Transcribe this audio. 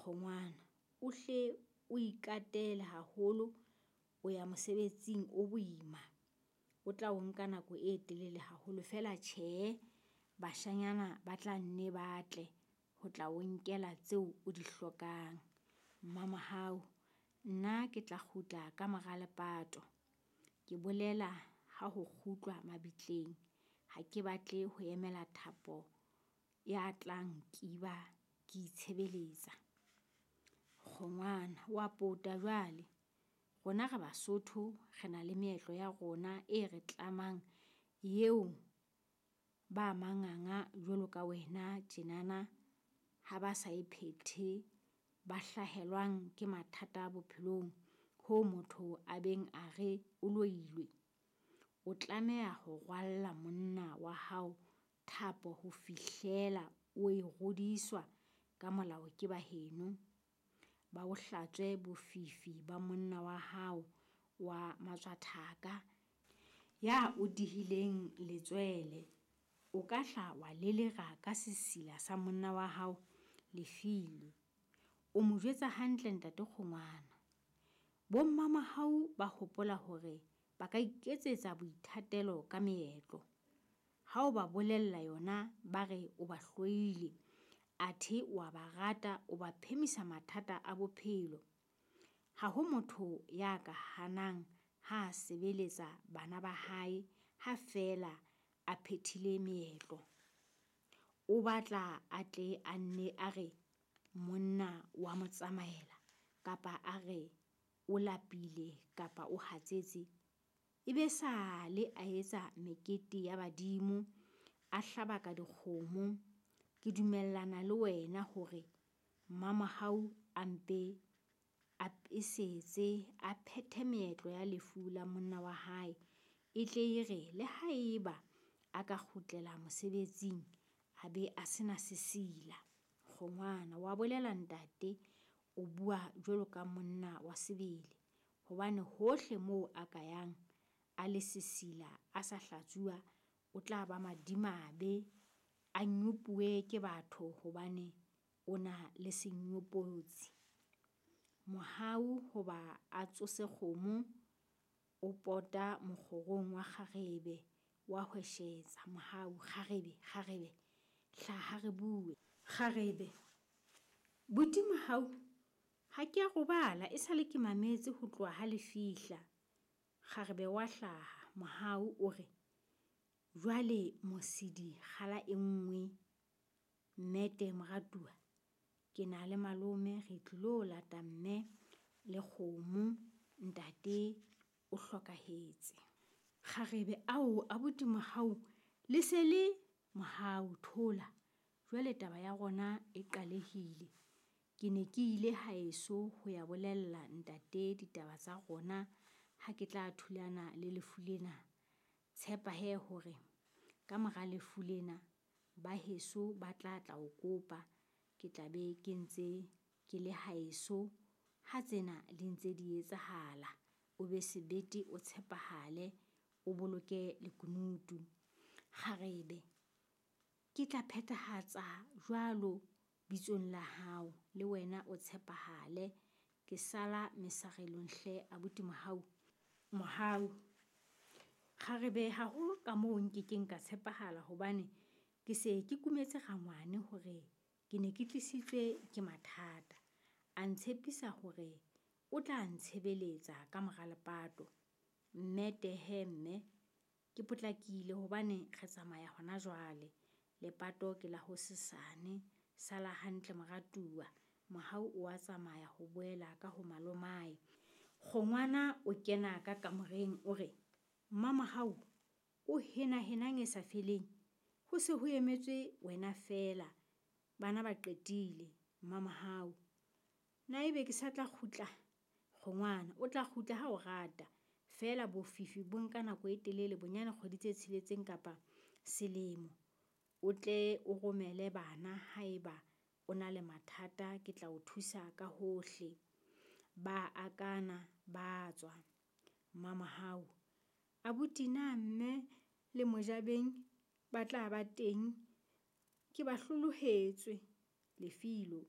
Kgongwana, o hle o ikatele haholo, o ya mosebetsing o boima, o tla o nka nako e telele haholo. Feela tjhe, bashanyana ba tla nne ba tle ho tla o nkela tseo o di hlokang. Mmamohau, nna ke tla kgutla ka mora lepato. Ke bolela ha ho kgutlwa mabitleng, ha ke batle ho emela thapo ya tla nkiba ke itshebeletsa. Kgongwana, wa pota jwale. Rona re Basotho, re na le meetlo ya rona e re tlamang eo ba manganga jwalo ka wena tjenana ha ba sa e phethe, ba hlahelwang ke mathata bophelong hoo motho a beng a re o loilwe. O tlameha ho rwalla monna wa hao thapo ho fihlela o e rodiswa ka molao ke ba heno. Ba o hlatswe bofifi ba monna wa hao wa matswathaka ya o dihileng letswele. O ka hla wa lelera ka sesila sa monna wa hao Lefilwe. O mo jwetsa hantle ntate Kgongwana. Bo-Mmamohau ba hopola hore ba ka iketsetsa boithatelo ka meetlo. Ha o ba bolella yona ba re o ba hloile, athe o a ba rata, o ba phemisa mathata a bophelo. Ha ho motho ya ka hanang ha a sebeletsa bana ba hae ha feela a phethile meetlo. O batla a tle a nne a re monna wa mo tsamaela, kapa a re o lapile kapa o hatsetse. E be sale a etsa mekete ya badimo, a hlabaka dikgomo. Ke dumellana le wena hore Mmamohau a mpe a pesetse, a phethe meetlo ya lefu la monna wa hae. E tle e re le haeba a ka kgutlela mosebetsing, a be a se na sesila. Kgongwana, wa bolela ntate, o bua jwalo ka monna wa sebele. Hobane hohle moo a ka yang a le sesila, a sa hlatsuwa, o tla ba madimabe, a nyopuwe ke batho hobane o na le senyopotsi. Mohau hoba a tsose kgomo, o pota mokgorong wa kgarebe, wa hweshetsa. Mohau, kgarebe, kgarebe, hlaha re bue. Kgarebe, buti Mohau, ha ke a robala, esale ke mametse ho tloha ha le fihla. Kgarebe wa hlaha. Mohau o re, jwale mosidi kgala e nngwe. Mmete moratuwa, ke na le malome re tlilo lata mme le kgomo, ntate o hlokahetse. Kgarebe, ao abuti Mohau, le se le Mohau, thola. Jwale taba ya rona e qalehile. Ke ne ke ile haeso ho ya bolella ntate ditaba tsa rona ha ke tla thulana le lefu lena. Tshepa he hore ka mora lefu lena ba heso ba tla tla o kopa. Ke tla be ke ntse ke le haeso ha tsena di ntse di etsahala. O be sebete, o tshepahale, o boloke lekunutu. Kgarebe, ke tla phethahatsa jwalo bitsong la hao, le wena o tshepahale. Ke sala mesarelong hle abuti Mohau. Mohau, kgarebe ha ho ka moo nkekeng ka tshepahala hobane ke se ke kumetse rangwane hore ke ne ke tlisitswe ke mathata. A ntshepisa hore o tla ntshebeletsa ka mora lepato. Mmete he mme, ke potlakile hobane re tsamaya hona jwale. Lepato ke la hosesane. Sala hantle moratuwa. Mohau o a tsamaya ho boela ka ho malomae. Kgongwana o kena ka kamoreng o re, Mmamohau, o henahenang e sa feleng? Ho se ho emetswe wena feela, bana ba qetile. Mmamohau, na ebe ke sa tla kgutla? Kgongwana, o tla kgutla ha o rata. Feela bofifi bo nka nako e telele, bonyane kgwedi tse tsheletseng kapa selemo. O tle o romele bana haeba o na le mathata, ke tla o thusa ka hohle. Ba akana, ba tswa. Mmamohau, abuti na mme le Mojabeng ba tla ba teng? Ke ba hlolohetswe. Lefilo,